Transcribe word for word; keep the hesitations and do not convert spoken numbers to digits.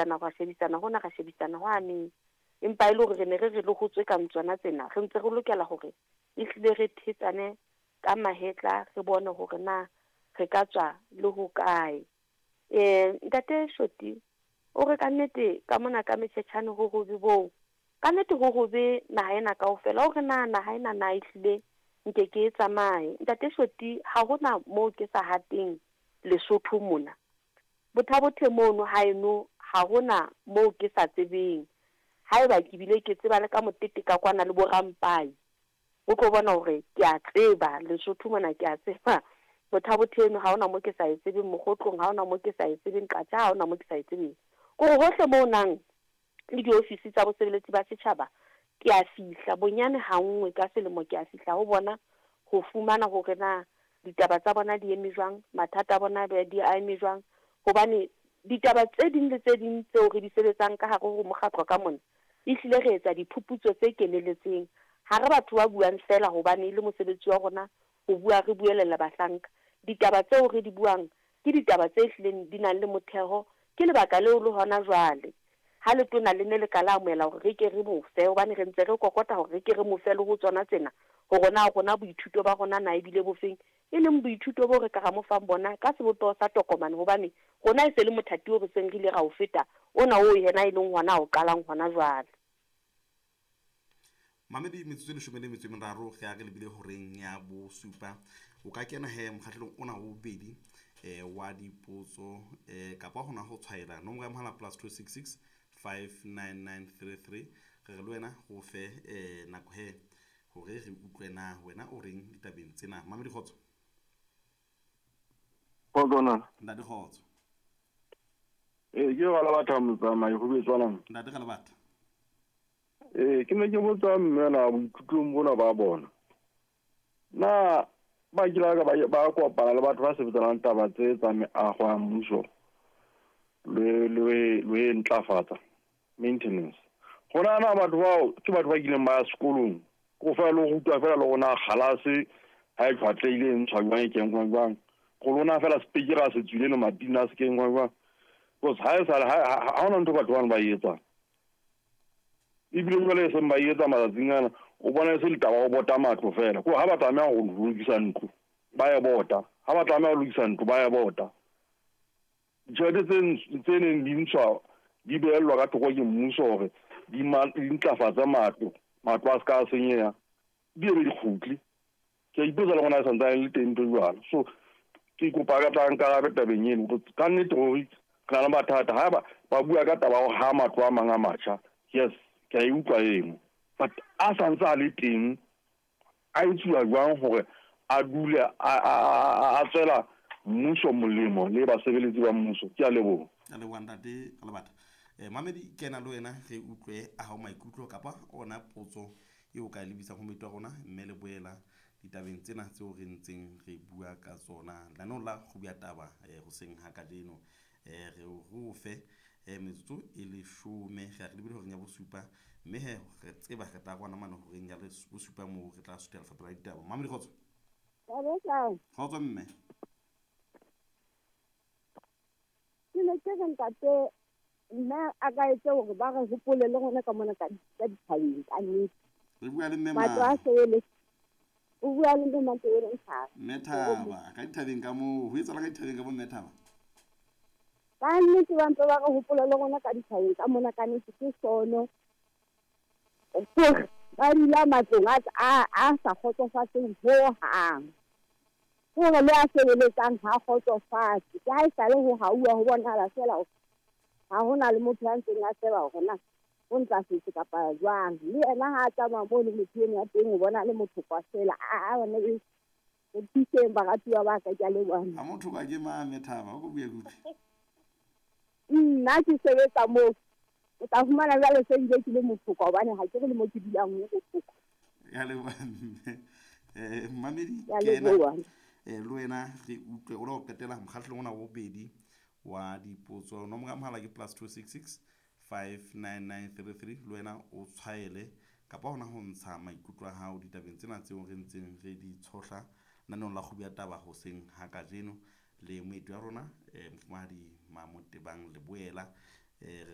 shebisana ra shebisana hona ra shebisana hwane. Empa e le hore re ne re re le ho tswe kang tsona tsena, re ntse re lokela hore ehlile re thetsane ka mahetla, re bone hore na re ka tswa le hokae. Eh ntate Shoti o re ka nnete ka mona ka metjhetjhane ho hobe boo, ka nnete ho hobe naha ena kaofela. O re na naha ena na ehlile nke ke e tsamaye. Ntate Shoti, ha hona moo ke sa hateng Lesotho mona. Bothabothe mono haeno ha hona moo ke sa tsebeng. Haeba ke bile ke tseba le ka motete ka kwana le bo Rampai, o tlo bona hore ke a tseba Lesotho mona, ke a tseba Bothabothe eno ha hona moo ke sa e tsebeng, Mokgotlong ha hona moo ke sa e tsebeng, Qacha ha hona moo ke sa e tsebeng. Kore hohle moo nang le diofisi tsa bosebeletsi ba setjhaba, ke a fihla bonyane ha nngwe ka selemo, ke a fihla ho bona ho fumana hore na ditaba tsa bona di eme jwang, mathata a bona di a eme jwang. Hobane ditaba tse ding le tse ding tseo re di sebetsang ka hare ho mokgatlo ka mona, ehlile re etsa diphuputso tse keneletseng. Ha re batho ba buang fela hobane e le mosebetsi wa rona ho bua, re buelela bahlanka. Ditaba tseo re di buang ke ditaba tse hlileng di nang le motheo. Ke lebaka leo le hona jwale ha letona le ne le ka la amohela hore re ke re mo fe, hobane re ntse re kokota hore re ke re mo fe le ho tsona tsena, hore na rona boithuto ba rona na ebile bofeng, e leng boithuto bo re ka ra mo fang bona ka sebopeho sa tokomane, hobane rona e se le mothati o re seng re ile ra o feta ona oo yena e leng hona o qalang hona jwale. Mamedi, metsotso e leshome le metso e meraro ge a re lebile horeng ya bosupa. O ka kena he mokgahlelong ona wa bobedi eh wa dipotso eh kapa hona ho tshwaela nomoro ya mohala plus two six six five nine nine three three. Re re le wena go fe eh nako he hore re utlwe na wena o reng ditabeng tsena. Mamedi, kgotso. Kgotso na. Ntate, kgotso. Eh ke wa la batho motsamai go betswanang. Ntate ka lebatha. Eh ke ne ke botsa mme na boithutong bona ba bona. Na ba kile ka ba ba kopana le batho ba sebetsanang taba tse tsa meago ya mmuso le le le ntlafatsa maintenance. Gona na batho bao ke batho ba kileng ba ya sekolong go fa le go rutwa fela le gona galase ha e tlhwatlehile e ntshwa jwang e kenngwa jwang, go lona fela sepikera se tswile le matina a se kenngwa jwang. Because ha e sale ha hona ntho batho bana ba e etsang, ebile jwale e seng ba e etsa matsatsing ana, o bona e se litaba ho bota matlo fela. Ko ha ba tlameha ho lokisa ntlo ba e bota, ha ba tlameha ho lokisa ntlo ba e bota. Ditjhelete tse tse neng di ntshwa di behellwa ka thoko ke mmuso hore di ntlafatse matlo, matlo a se ka senyeha, di ebe di kgutle. Ke a ipotsa le gona e santsane le teng ntho jwalo. So ke kopa ka tla nkarabe tabeng eno, ka nnete hore re na le mathata. Ha ba ba bua ka taba ya ho ha matlo a mang a matjha, yes, ke a e utlwa eno, but a santse a le teng, a etsuwa jwang hore a dule a a tswela mmuso molemo le basebeletsi ba mmuso? Ke a leboha. A leboha ntate ka lebatha. Eh mamedi, kena le wena re utlwe a hao maikutlo kapa ona potso eo ka e lebisang ho moeti wa rona, mme le boela ditabeng tsena tseo re ntseng re bua ka tsona lenaneong la Kgubu ya Taba eh hoseng ha kajeno. Eh re o fe eh metsotso e leshome ge re lebile horeng ya bosupa, mme he re tseba re tla kwana mane horeng ya bosupa moo re tla suthela lefapha la ditaba. Mamedi, kgotso. Kgotso mme. Ke ne ke re ntate nna a ka etse hore ba re hopole le rona ka mona ka ka dithabeng ka nnete. Re bua le mme Matlo a mang? sebele. O bua le mme Matebele Ntlhare. Mme Thaba, ka dithabeng ka moo, ho etsahala ka dithabeng ka bo mme Thaba? Ka nnete ba ntse ba re hopola le rona ka dithabeng ka mona, ka nnete ke sono. Hore ba dula matlong a a a sa kgotsofatseng hohang. Hore le a sebeletsang ha kgotsofatse. Ke ha esale ho hauwa ho bonahala feela hore ha hona le motho ya ntseng a tseba hore na o ntlafetse kapa jwang. Le yena ha a tsamaya moo le motho eno ya teng, o bona le motho kwa fela. A a bana re thuseng baratuwa ba ka, ke a leboha. Ha motho ka ke mang mme Thaba, o ko bue kutlwe. Nna ke sebetsa moo, o tla fumana jwale se bile ke le motho kwa, hobane ha ke re le mo ke dulang ho bohloko. Ya leboha mme. Eh mamedi, Ke a kena leboha. eh le wena re utlwe o lo qetela mokgahlelong ona wa bobedi wa dipotso. Nomoro ya mohala ke plus two six six five nine nine three three. Le wena o tshwaele kapa hona ho ntsha maikutlo a hao ditabeng tsena tseo re ntseng re di tshohla naneong la Kgubu ya Taba hoseng ha kajeno le moeti wa rona eh mofumahadi Mamotebang Leboela. Eh